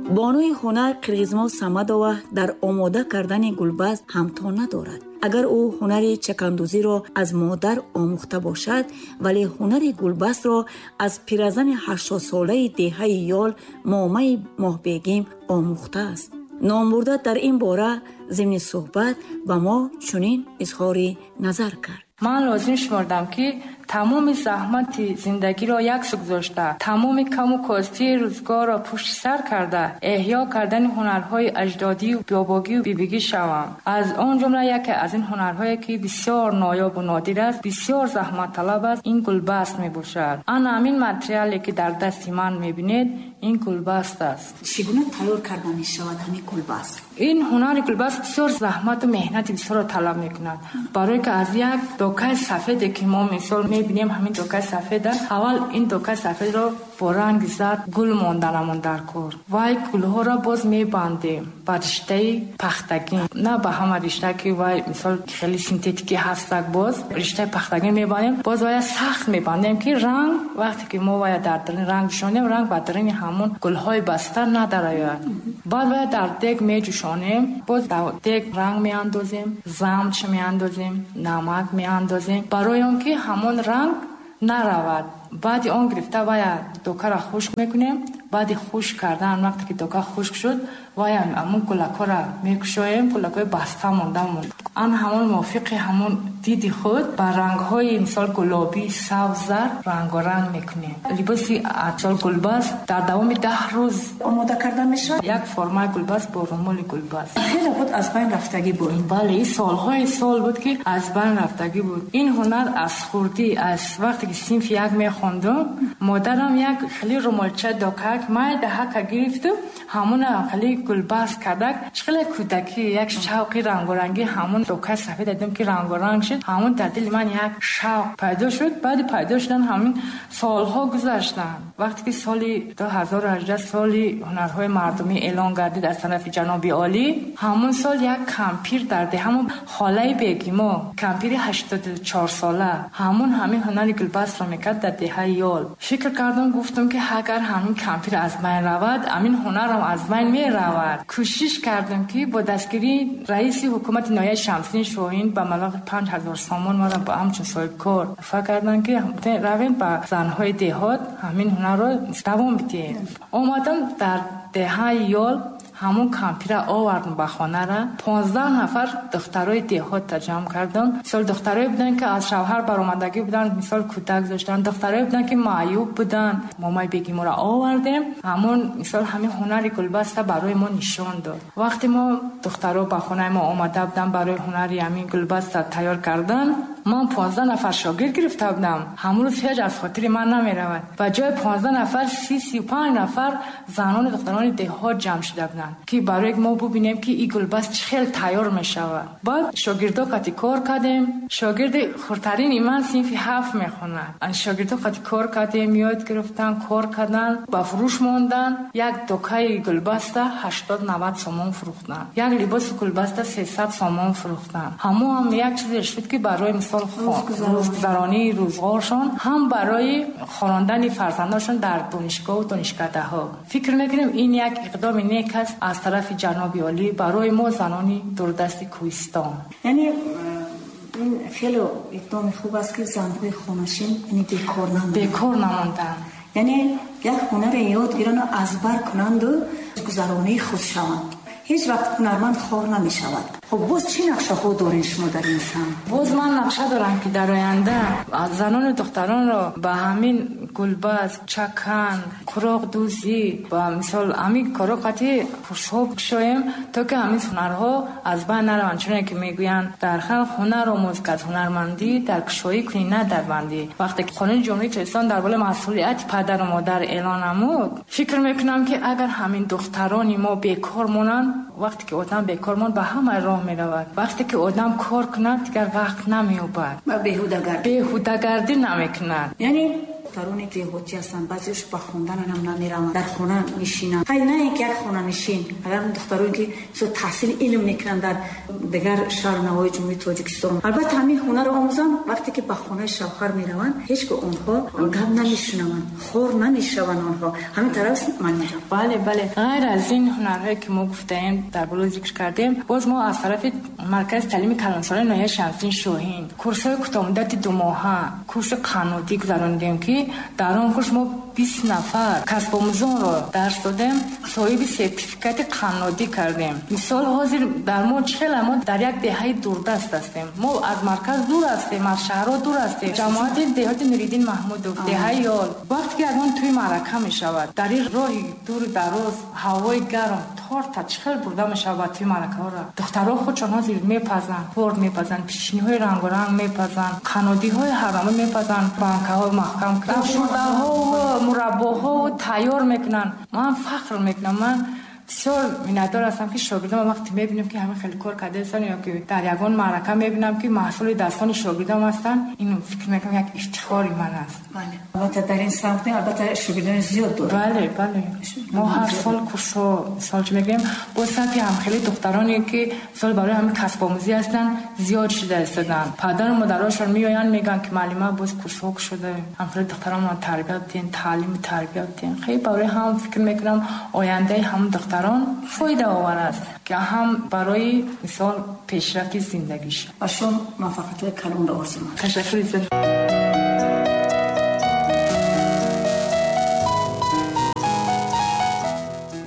Бонуи ҳунар Қирғизмо Самадова дар омода кардани гулбаст ҳамто надорад. Агар ӯ ҳунари чакандӯзиро аз модар омӯхта бошад, вале ҳунари гулбастро аз пиразани 80-солаи деҳаи Ёл Момаи Моҳбегим омӯхтааст. Номбурда дар ин бора зимни суҳбат ба мо чунин изҳори назар кард. Ман лозим шумурдам, ки тамоми заҳмати зиндагиро яксу гузошта, тамоми каму костии рӯзгорро пушти сар карда, эҳё кардани ҳунарҳои аҷдодию бобогию бибигӣ шавам. Аз он ҷумла яке аз ин ҳунарҳое, ки бисёр ноёбу нодир аст, бисёр заҳматталаб аст, ин гулбаст мебошад. Ана ҳамин материале, ки дар дасти ман мебинед, ин гулбаст аст. Чӣ гуна тайёр карда мешавад ҳамин гулбаст? Ин ҳунари гулбаст бисёр заҳмату меҳнати бисёрро талаб мекунад, барое ки аз як докаи сафеде, ки мо мисол мебинем, ҳамин докаи сафеда, аввал ин докаи сафедро бо ранги зард гул монданамон дар кор. Вай гулҳоро боз мебандем ба риштаи пахтагин, на ба ҳама ришта, ки вай мисол хеле синтетикӣ ҳастак, боз риштаи пахтагин мебандем, боз вая сахт мебандем, ки ранг вақте ки мо вая дар даруни ранг ҷӯшонем, ранг ба даруни ҳамон гулҳои баста надарояд. Баъд вая дар дег меҷӯшонем, боз дар дег ранг меандозем, замч меандозем, намак меандозем, барои он ки ҳамон ранг наравад. Баъди он гирифта вая докаро хушк мекунем. Баъди хушк кардан, вақте ки дока хушк шуд, вая ҳамон гулакҳоро мекушоем, гулакҳои баста мондамон, ан ҳамон мувофиқи ҳамон диди худ ба рангҳои мисол гулобӣ, сабз, зард рангоранг мекунем. Либоси мисол гулбаст дар давоми 10 рӯз омода карда мешавад. Як формаи гулбаст бо румоли гулбаст. Хеле буд аз байн рафтагӣ буд. Бале, ин солҳои сол буд, ки аз байн рафтагӣ буд. Ин ҳунар аз хурдӣ, аз вақте ки синфи як мехондум, модарам як хеле румолча докак майдаҳака гирифту ҳамона хеле гулбаст кардак. Чӣ хеле кӯдакӣ як шавқи рангорангӣ, ҳамон докаи сафед дидем, ки рангоранг шуд, ҳамон дар дили ман як шавқ пайдо шуд. Баъди пайдо шудан ҳамин солҳо гузаштанд. Вақте ки соли 2018 соли ҳунарҳои мардумӣ эълон гардид аз тарафи ҷаноби олӣ, ҳамон сол як кампир дар деҳамон, холаи Бегимо, кампири 84-сола, ҳамон ҳамин ҳунари гулбастро мекард дар деҳаи Ёл. Фикр кардам, гуфтам, ки агар ҳамин кампир аз байн равад, ҳамин ҳунарам аз байн меравад. Кӯшиш кардам, ки бо дастгирии раиси ҳукумати ноҳияи Шамсиддин Шоҳин ба маблағи 5000 сомон маро ба ҳамчун соҳибкор туҳфа карданд, ки равем, ба занҳои деҳот ҳамин ҳунарро давом бидиҳем. Омадам дар деҳаи Ёл, ҳамон кампира овардам ба хонара, 15 нафар духтарои деҳотта ҷамъ кардам. Мисол, духтарое буданд, ки аз шавҳар баромадагӣ буданд, мисол, кӯдак доштанд, духтарое буданд, ки маъюб буданд. Момаи Бегиморо овардем, ҳамон мисол ҳамин ҳунари гулбаста барои мо нишон дод. Вақте мо духтаро ба хонаи мо омада буданд барои ҳунари ҳамин гулбаста тайёр кардан, ман 15 нафар шогирд гирифта будам. Ҳамон рӯз ҳеҷ аз хотири ман намеравад. Ба ҷои 15 нафар 30-35 нафар занону духтарони деҳот ҷамъ шуда буданд, ки барои мо бубинем, ки ин гулбаст чӣ хел тайёр мешавад. Баъд шогирдо қати кор кардем. Шогирди хурдтарини ман синфи 7 мехонад. Шогирдо қати кор кардем, ёд гирифтан, кор кардан, ба фурӯш мондан. Як докаи гулбаста 80-90 сомон фурӯхтан, як либоси гулбаста 300 сомон фурӯхтан. Ҳамон ҳам як чизе шуд, ки барои мисол рӯзгузаронии рӯзғоршон, ҳам барои хонондани фарзандоншон дар донишгоҳу донишкадаҳо. Фикр мекунем, ин як иқдоми нек аст аз тарафи ҷаноби олӣ барои мо, занони дурдасти кӯҳистон. Яъне ин хеле иқдоми хуб аст, ки занҳои хонашин, яъне, бекор намонанд. Бекор намонданд. Яъне як ҳунаре ёд гиранду аз бар кунанду гузаронии худ шаванд. Ҳеҷ вақт ҳунарманд хор намешавад. Хуб, боз чӣ нақшаҳо доред шумо дар ин самт? Боз ман нақша дорам, ки дар оянда занону духтаронро ба ҳамин гулбаст, чакан, қуроқдӯзӣ ва мисол ҳамин корҳо қати курсҳо кушоем, то ки ҳамин ҳунарҳо аз байн нараванд. Чуне ки мегӯянд дар халқ: ҳунар омӯз, ки аз ҳунармандӣ дар кушоӣ кунӣ, на дар бандӣ. Вақте ки Қонуни Ҷумҳурии Тоҷикистон дар бораи масъулияти падару модар эълон намуд, фикр мекунам, ки агар ҳамин духтарони мо бекор монанд, вақте ки одам бекор монд, ба ҳама роҳ меравад. Вақте ки одам кор кунад, дигар вақт намеёбад. Беҳудагардӣ. Беҳудагардӣ намекунад. Яъне Духтароне ки деҳотӣ ҳастанд, баъзеаш ба хондан ҳам намераванд, дар хона мешинанд. Хай, на ин ки як хонанишин, агар духтароне ки таҳсили илм мекунанд дар дигар шаҳру навоҳии Ҷумҳурии Тоҷикистон, албатта ҳамин ҳунарро омӯзанд, вақте ки ба хонаи шавҳар мераванд, ҳеҷ гоҳ онҳо гап намешунаванд, хор намешаванд онҳо. Ҳамин тараф ман меҷам. Бале, бале. Ғайр аз ин ҳунарҳое ки мо гуфтаем, дар боло зикр кардем, боз мо аз тарафи маркази таълими калонсолаи ноҳияи Шамсиддин Шоҳин курсҳои кӯтоҳмуддати думоҳа, курси қаннодӣ гузаронидем, ки дар он курс мо 20 нафар касбомӯзонро дарс додем, соҳиби сертификати қаннодӣ кардем. Мисол, ҳозир дар мо чӣ хела, мо дар як деҳаи дурдаст ҳастем, мо аз марказ дур ҳастем, аз шаҳрҳо дур ҳастем, ҷамоати деҳоти Нуриддин Маҳмудов, деҳаи Ёл. Вақте ки ягон тӯи маърака мешавад, дар ин роҳи дуру дароз, ҳавои гарм, торта чӣ хел бурда мешавад ба тӯи маъракаҳоро? Духтарҳо худшон ҳозир мепазанд, торт мепазанд, печеньеҳои рангоранг мепазанд, қаннодиҳои ҳарнамӯ мепазанд, банкаҳо маҳкам, шурдаҳо, мураббоҳо тайёр мекунанд. Ман фахр мекунам, ман бисёр миннатдор ҳастам, ки шогирдам вақте мебинам, ки ҳамин хеле кор кардаастанд, ё ки дар ягон маърака мебинам, ки маҳсули дастони шогирдам ҳастанд, ин фикр мекунам як ифтихори ман аст. Бале, албатта, дар ин самт албатта шогирдони зиёд дорад. Бале, бале, мо ҳар сол курсҳо, мисол чӣ мегӯем, боз сафи ҳамхели духтароне ки мисол барои ҳамин касбомӯзӣ ҳастанд, зиёд шуда истоданд. Падару модарошон меоянд, мегӯянд, ки муаллима, боз курсҳо кушода, ҳамхели духтаронро тарбият диҳем, таълиму тарбият диҳем. Хеле барои ҳам фикр мекунам, ояндаи ҳамон духтарон фоидаовар аст, ки ҳам барои мисол пешрафти зиндагиш. Ба шумо муваффақиятҳои калонро орзу мекунам. Ташаккури зиёд.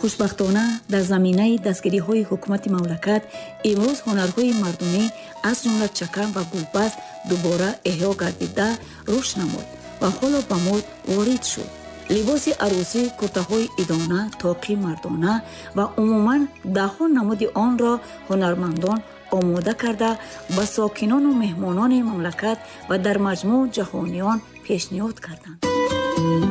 Хушбахтона, дар заминаи дастгириҳои ҳукумати мамлакат имрӯз ҳунарҳои мардумӣ, аз ҷумла чакан ва гулбаст, дубора эҳё гардида, рушд намуд ва ҳоло ба мод ворид шуд. Либоси арӯсӣ, куртаҳои идона, тоқи мардона ва умуман даҳҳо намуди онро ҳунармандон омода карда, ба сокинону меҳмонони мамлакат ва дар маҷмӯъ ҷаҳониён пешниҳод карданд.